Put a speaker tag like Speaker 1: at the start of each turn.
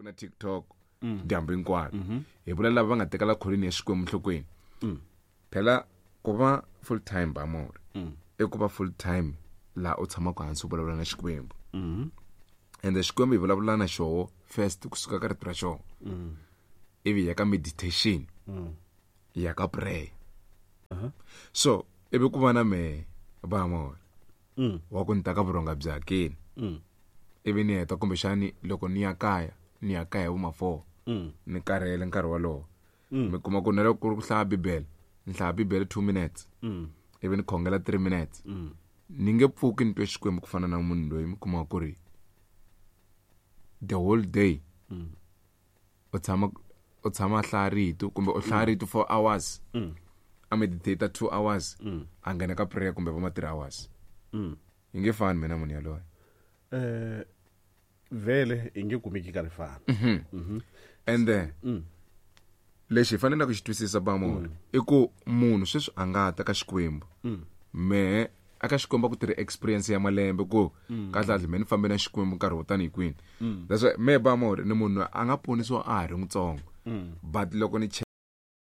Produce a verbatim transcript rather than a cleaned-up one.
Speaker 1: Na TikTok dyambu hinkwaro, hi vula lava va nga tekela kholini ya Xikwembu nhlokweni. Phela ku va full time bamori i ku va full time laha u tshamaka hansi u vulavula na Xikwembu, ende Xikwembu hi vulavula na xoho first kusuka ka rito ra xona, ivi hi ya ka meditation, hi ya ka prayer. So ivi ku va na mehe bamori wa ku ni ta ka vurhonga bya hakeni, ivi ni heta kumbexani loko ni ya kaya, ni ya kaya vo ma four, ni karhele nkarhi wolowo, mi kuma ku na loko ku ri ku hlaya Bibele, ni hlaya Bibele two minutes, ivi ni khongela three minutes. Ni nge pfuki ni twe Xikwembu ku fana na munhu loyi mi kuma ku ri the whole day u tshama u tshama a hlaya rito, kumbe u hlaya rito four hours, a meditate two hours, a nghena ka prayer kumbe va ma three hours. Yi nge fani mina munhu yaloye.
Speaker 2: Eh, vele i nge kumeki ka rifana.
Speaker 1: And then lexi hi faneleke ku xi twisisa bamori i ku munhu sweswi a nga ta ka Xikwembu, mehe aka Xikwembu a ku tirhi experience ya malembe ku kahlekahle me ni fambe na Xikwembu nkarhi wo tani hi kwini. That's why mehe bamori ni munhu a nga ponisiwa a ha ri mutsongo, but loko ni